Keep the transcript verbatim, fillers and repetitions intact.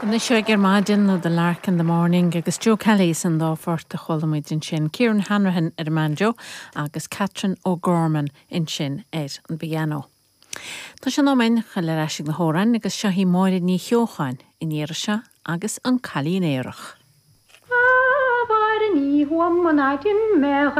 Anois ag ar maidin nó The Lark in the Morning agus Joe Kelly san dá phort a chuala muid ansin Kieran Hanrahan ar an mbanjo agus Catherine O'Gorman ansin ar an bpianó. Tá sé in am a ghabháil ar ais na hamhráin agus seo í Máire Ní Cheocháin in iarra agus an Cailín Aerach. Ní huam an aidin me ar